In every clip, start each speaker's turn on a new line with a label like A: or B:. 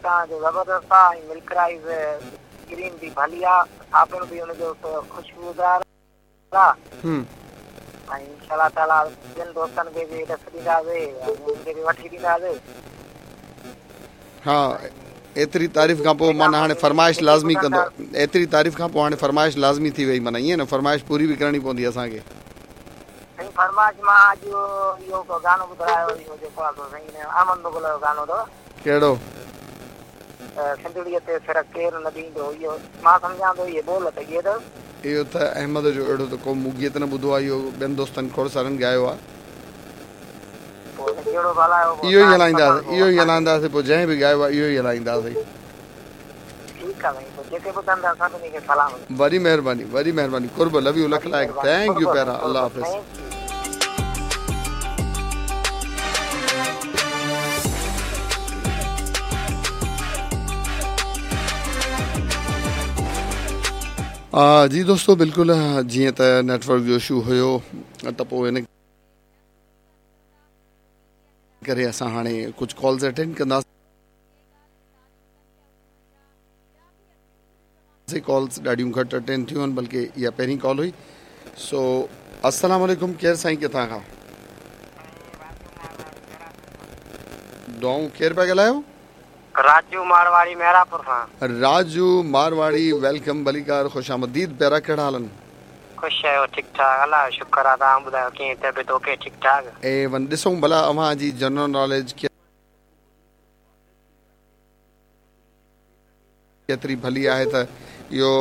A: توهان جو زبردست آ ۽ ملڪ رائيز ڪريم به ڀلي آ، صابڻ به ان جو خوشبودار آ ۽ انشاء الله تعاليٰ ٻين دوستن کي به ڏس ڏينداسي ۽ انهن کي به وٺي ڏينداسي.
B: ها ايتري تعريف کان پوء معنيٰ هاڻي فرمائش لازمي ڪندو ايتري تعريف کان پوء هاڻي فرمائش لازمي ٿي وئي معنيٰ ائين نه فرمائش پوري به ڪرڻي پوندي اسان کي.
A: سائين فرمائش مان اڄ اهو گانو ٻڌرايو اهو جيڪو آ سو سائين احمد مغل جو گانو اٿو.
B: ڪهڙو؟
A: سنڌڙيء تي سر ڪير نه ڏيندو اهو مان سمجهان ٿو اهي ٻول ته اهي اٿس.
B: اهو ته احمد جو اهڙو ته ڪو مون گيت نه ٻڌو آهي اهو ٻين دوستن کوڙ سارن ڳايو آهي.
A: پوء ته ڪهڙو به هلايو پوء
B: اهو ئي
A: توهان جي
B: هلائينداسين
A: پسند پوء
B: اهو ئي
A: اسان کي.
B: هلائينداسين پوء جنهن به ڳايو آهي اهو ئي هلائينداسين.
A: ٺيڪ آ سائين پوء جيڪي ٻڌندا سڀني کي سلام.
B: وڏي مهرباني وڏي مهرباني قرب لو يو لک
A: وڏي
B: لائق
A: مهرباني
B: thank you
A: قرب
B: پيارا
A: سائين
B: الله
A: قرب
B: حافظ.
A: Thank you.
B: جي دوستو بلڪل جيئن ته نيٽورڪ جو اشو هيو ته پوء ان ڪري اسان هاڻي ڪجهه ڪالز اٽينڊ ڪنداسين ڪالز ڏاڍيون گهٽ اٽينڊ ٿيون آهن بلڪه اها پهرين ڪال هئي سو السلام عليڪم ڪير سائين ڪٿان کان دعائون ڪير پيا ڳالهايو
A: راجو مارواڙي محرابپور کان.
B: راجو مارواڙي welcome ڀليڪار خوش آمديد پيارا ڪهڙا حال آهن.
A: خوش آهيو ٺيڪ ٺاڪ الله جو شڪر آ توهان ٻڌايو ڪيئن طبيعت اوڪي ٺيڪ ٺاڪ.
B: اي ون ڏسون ڀلا اوهان جي جنرل ناليج ڪيتري ڀلي آهي ته اهو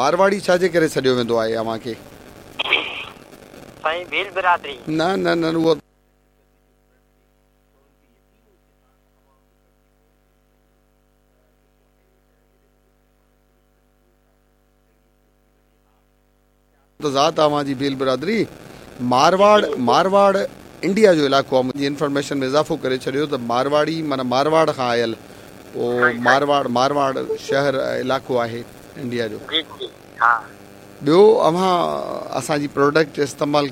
B: مارواڙي ڇا جي ڪري سڏيو ويندو آهي اوهان کي.
A: سائين ڀيل برادري.
B: نه نه نه اهو ته ذات آ اوهان جي ڀيل برادري مارواڙ مارواڙ انڊيا جو علائقو آ منهنجي انفارميشن ۾ اضافو ڪري ڇڏيو ته مارواڙي معنيٰ مارواڙ کان آيل پوء مارواڙ مارواڙ شهر علائقو آهي انڊيا جو
A: جي جي ها
B: ٻيو اوهان اسان جي پروڊڪٽ استعمال.